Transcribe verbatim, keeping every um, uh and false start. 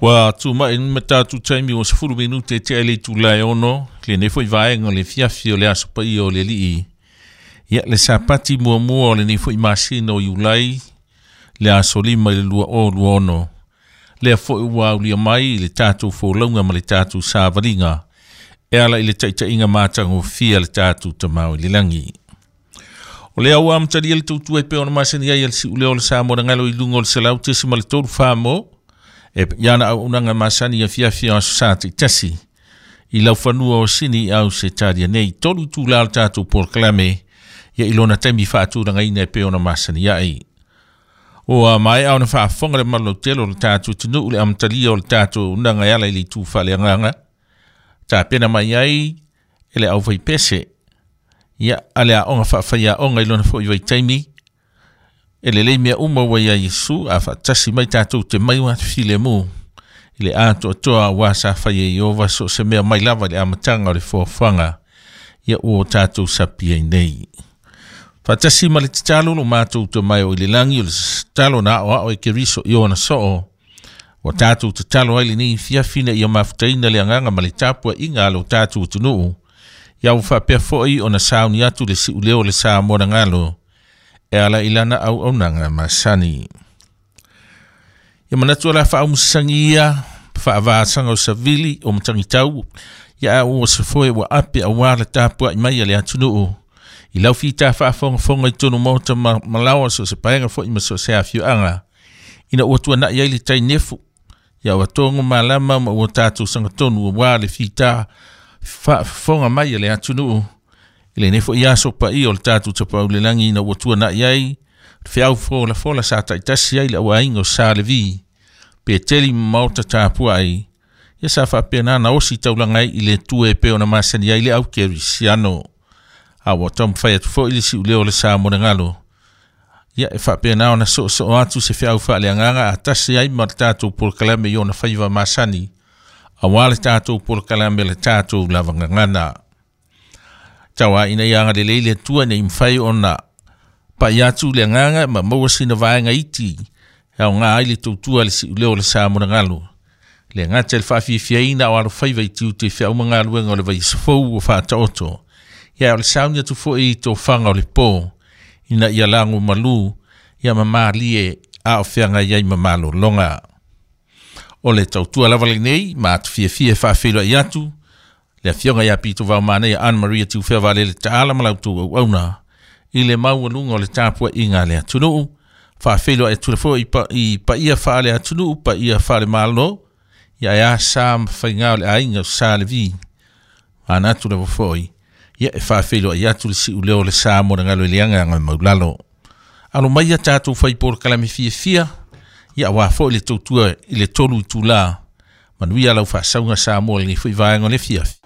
Ua tuma'i ma tatou taimi ua sefulu minute tea i le itulā e ono lenei fo'i vaega o le fiafi o le aso paia o le Alii. Ia le Sapati muamua o lenei fo'i masina o Iulai le aso lima i le lua o lua ono. Lea fo'i ua aulia mai i le tatou folauga ma le tatou savaliga e ala i le taitaiga matagofie a le tatou Tamā i le lagi. O lea ua amatalia le tautua e pei ona masani ai a le siuleo o le Samoa na galo i luga o le selau tesi ma le tolu famo e iana auaunaga masani afiafi o aso sa taitasi i laufanua o Sini au se talia nei tolu itulā o le tatou polokalame ia i lona taimi faatulagaina e pei ona masani ai. Ua maea ona faafofoga le malolautele o le tatou atunuu le amatalia o le tatou auaunaga e ala i le itu faaleagaga tapena mai ai e le aufaipese ia a le aoga faafaiaoga i lona fo'i vaitaimi e lelei mea uma ua ia Iesu a faatasi mai tatou te mai ua filemu i le atoatoa auā sa fai e Ieova so o se mea mai lava i le amataga o le foafoaga ia ua o tatou sapi ai nei. Faatasi ma le tatalo lo matou Tama e o i le lagi o le tatalo na aoao e Keriso i ona soo ua tatou tatalo ai lenei fiafi ina ia mafutaina le agaga ma le tapuaiga a lo tatou atunuu ia ua faapea fo'i ona sauni atu le siuleo o le Samoa na galo e ala i lana auaunaga masani. Ia manatu o le a faaaumusasagi ia faavasaga o savili o matagitau ia a ua se foe ua ape auā le tapuai mai a le atunuu i lau fita faafogafoga i totonu maota ma malaoa so o se paega fo'i ma so o se afioaga ina ua tuana'i ai le tainefu ia ua togo malama ma ua tatou sagatonu auā le fita faafofoga mai a le atunuu i lenei fo'i aso paia o le tatou Tapaau i le lagi ina ua tuana'i ai le feau folafola sa taitasi ai le auaiga o Sa Levi Peteli ma maota tapuai ia sa faapena na osi taulaga ai i le Atua e pei ona masani ai le au kerisiano. A ua taumafai atu fo'i le siuleo o le Samoa na galo ia e faapena ona soosoo atu se feau faaleagaga a tasi ai ma le tatou polokalame i ona faiva masani auā le tatou polokalame le tatou lava gagana. Tauā ina ia agalelei le Atua ina ia mafai ona pai atu le agaga ma maua sina vaega iti e aogā ai le tautua a le siuleo o le Samoa na galo. Le gata i le faafiafiaina o alofaiva i tiute i feau ma galuega o le vaiaso fou ua faataoto. Ia o le sauni atu fo'i i tofaga o le pō ina ia lago malū ia ma malie a o feagai ai ma malologa. O le tautua lava lenei ma atu fiafia e faafeiloai atu le afioga ia Pito Vaomanea Anne Maria Tiufea Valele Taala ma la outou auauna i le maualuga o le tapuaiga a le atunuu. Faafeiloai atu le fo'i i paia faale atunuu paia faale Malo ia e a sa ma faigā o le aiga o Sa Levi. Manatu lava fo'i ia e faafeiloai atu le siuleo o le Samoa na galo i le agaga maulalo. Alo mai ia tatou fai polokalame fiafia ia auā fo'i le tautua i le tolu itulā. Manuia lau faasauga Samoa i lenei fo'i vaega o le afiafi.